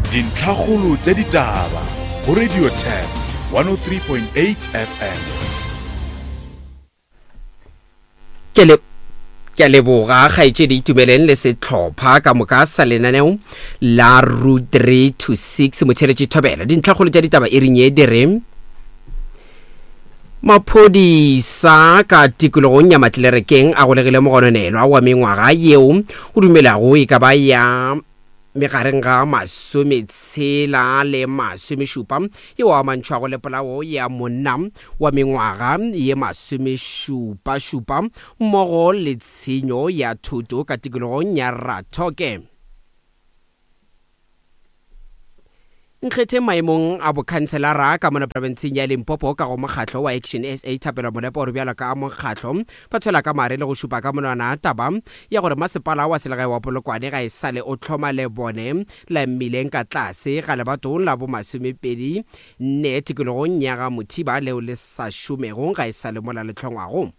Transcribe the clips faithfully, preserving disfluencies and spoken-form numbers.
Dintlhakgolo tša ditaba go Radio Turf one oh three point eight F M. Ke le ke a leboga kgaetšedi Itumeleng le sehlopha ka moka sa lenaneo la Route three to six motheletši Thobela. Dintlhakgolo tša ditaba e ring ye di re maphodisa ka tikologong ya Matlerekeng a golegile mogononelwa wa mengwaga yeo go dumelago e ka ba ya megareng ga masometshela le masomešupa yeo amantšhwago le polao ya monna wa mengwaga ye masomešupašupa mmogo le tshenyo ya thuto ka tikologong ya Rathoke. Nkgetheng maemong a bokhanselara ka mona profenseng ya Limpopo ka go mokgatlo wa Action S A Thapelo Molepo gore bjalo ka mokgatlo ba tshwela ka mare le go šupa ka monwana taba ya gore masepala wa selegae wa Polokwane ga e sale o tlhoma lebone la mmileng ka tlase ga lebatong la bo masomepedi nne tikologong ya ga Mothiba leo le sa šomego ga e sale mola le tlhongwago.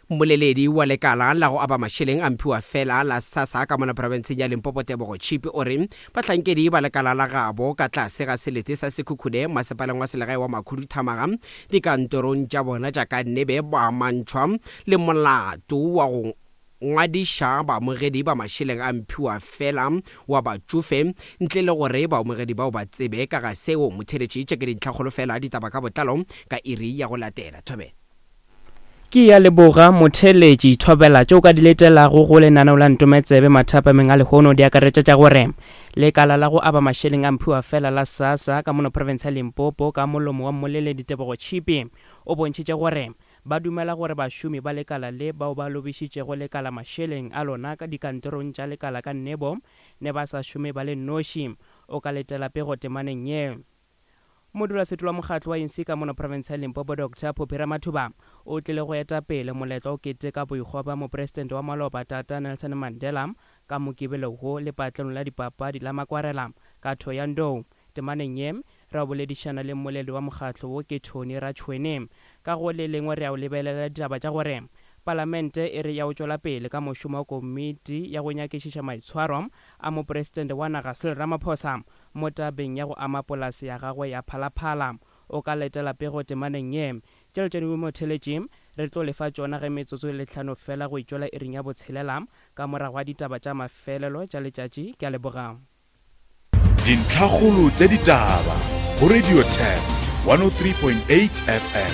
Mmoleledi wa lekala la go aba mašeleng a mphiwa fela la SASSA ka mona profenseng ya Limpopo Tebogo Chipi o re bahlankedi ba lekala la gabo ka tlase ga selete sa Sekhukhune masepaleng wa selegae wa Makhuduthamaga dikantorong tša bona tša ka nnebe ba amantšhwa le molato wa go ngwadiša baamogedi ba mašeleng a mphiwa fela wa batšofe ntle le gore baamogedi bao ba tsebe ka ga seo. Motheletši tše ke dintlhakgolo fela ditaba ka botlalo ka iri ya go latela. Thobela. Ke ya leboga motheletši Thobela tšeo ka di letelago go lenaneo la Ntometsebe mathapameng a lehono di akaretša tša gore lekala la go aba mašeleng a mphiwa fela la SASSA ka mono province ya Limpopo ka molomo wa mmoleledi Tebogo Chipi o bontšhitše gore ba dumela gore bašomi ba lekala le bao ba lobišitšego lekala mašeleng a lona ka dikantorong tša lekala ka nnebo ne ba sa šome ba le noši. O ka letela pego temaneng ye. Modulasetulo wa mokgatlo wa A N C ka mono province ya Limpopo Doctor Phophi Ramathuba o tlile go eta pele moletlo o keteka boikgwa bja mopresidente wa maloba Tata Nelson Mandela ka Mokibelo wo lepatlelong la dipapadi la Makwarela ka Thohoyandou. Temaneng ye re a boledišana le mmoledi wa mokgatlo wo ke Tony Ratšhwene. Ka go le lengwe re a lebelela ditaba tša gore palamente e re ya o tšwela pele ka mošomo wa komiti ya go nyakišiša maitshwaro a mopresidente wa naga Cyril Ramaphosa mo tabeng ya go ama polase ya gagwe ya Phalaphala. O ka letela pego temaneng ye. Tšelo tša dingwe motheletši re tlo lefa tšona ge metsotso e le hlano fela go itšwela iring ya botshelela ka morago ga ditaba tša mafelelo tša letšatši. Ke a leboga. Dintlhakgolo tša ditaba go Radio Turf one oh three point eight F M.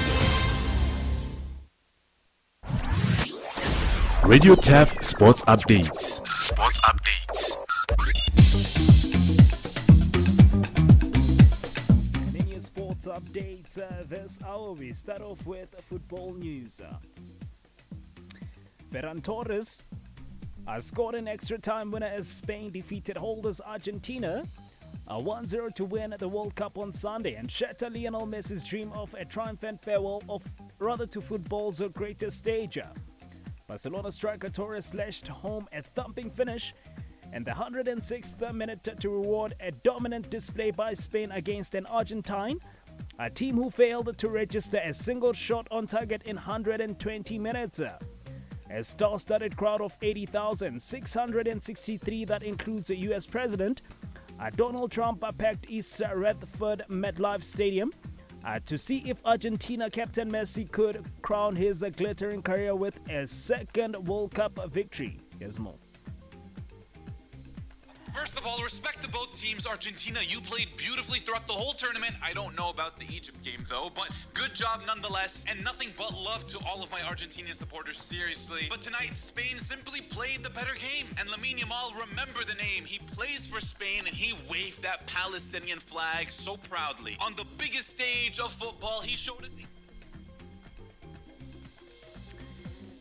Radio Turf Sports Updates. Sports Updates. Many sports updates uh, this hour. We start off with football news. Ferran Torres uh, scored an extra time winner as Spain defeated holders Argentina a one zero to win the World Cup on Sunday and shatter Lionel Messi's dream of a triumphant farewell of rather to football's greatest stage. Barcelona striker Torres slashed home a thumping finish in the hundred and sixth minute to reward a dominant display by Spain against an Argentine, a team who failed to register a single shot on target in hundred and twenty minutes. A star-studded crowd of eighty thousand six hundred and sixty-three that includes the U S President Donald Trump packed East Rutherford MetLife Stadium Uh, to see if Argentina captain Messi could crown his uh, glittering career with a second World Cup victory. Here's more. First of all, respect to both teams. Argentina, you played beautifully throughout the whole tournament. I don't know about the Egypt game, though, but good job nonetheless, and nothing but love to all of my Argentinian supporters, seriously. But tonight, Spain simply played the better game, and Lamine Yamal, remember the name. He plays for Spain, and he waved that Palestinian flag so proudly. On the biggest stage of football, he showed us...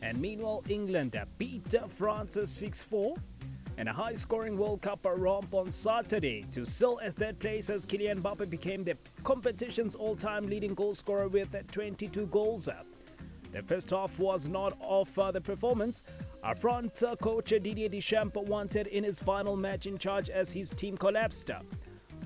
And meanwhile, England beat France six four. And a high-scoring World Cup romp on Saturday to seal a third place as Kylian Mbappe became the competition's all-time leading goal scorer with twenty-two goals. The first half was not off the performance. Our front coach Didier Deschamps wanted in his final match in charge as his team collapsed.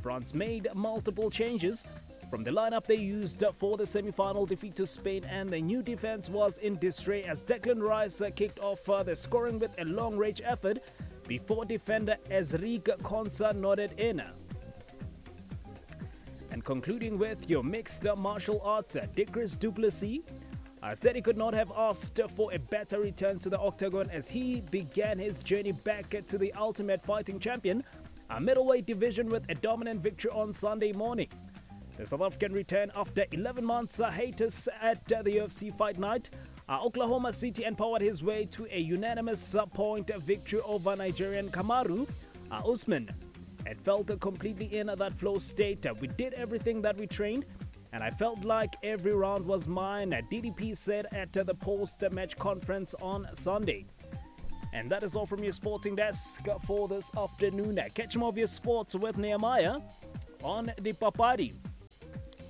France made multiple changes from the lineup they used for the semi-final defeat to Spain, and the new defense was in disarray as Declan Rice kicked off the scoring with a long-range effort before defender Ezric Konsa nodded in. And concluding with your mixed martial arts, Dricus Du Plessis uh, said he could not have asked for a better return to the octagon as he began his journey back to the Ultimate Fighting Champion, a middleweight division, with a dominant victory on Sunday morning. The South African returned after eleven months hiatus at the U F C Fight Night, uh, Oklahoma City, and powered his way to a unanimous point victory over Nigerian Kamaru uh, Usman. It felt completely in that flow state. We did everything that we trained, and I felt like every round was mine, D D P said at the post-match conference on Sunday. And that is all from your sporting desk for this afternoon. Catch more of your sports with Nehemiah on the Papadi.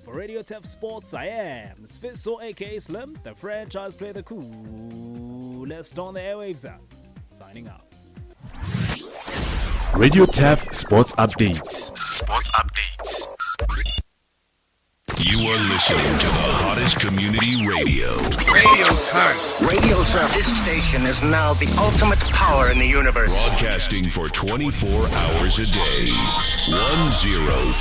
For Radio Turf Sports, I am Sfiso, aka Slim, the franchise player, the coolest on the airwaves. Signing out. Radio Turf Sports Updates. Sports Updates. You are listening to the hottest community radio. Radio Turf. Radio Turf. This station is now the ultimate power in the universe. Broadcasting for twenty-four hours a day. one oh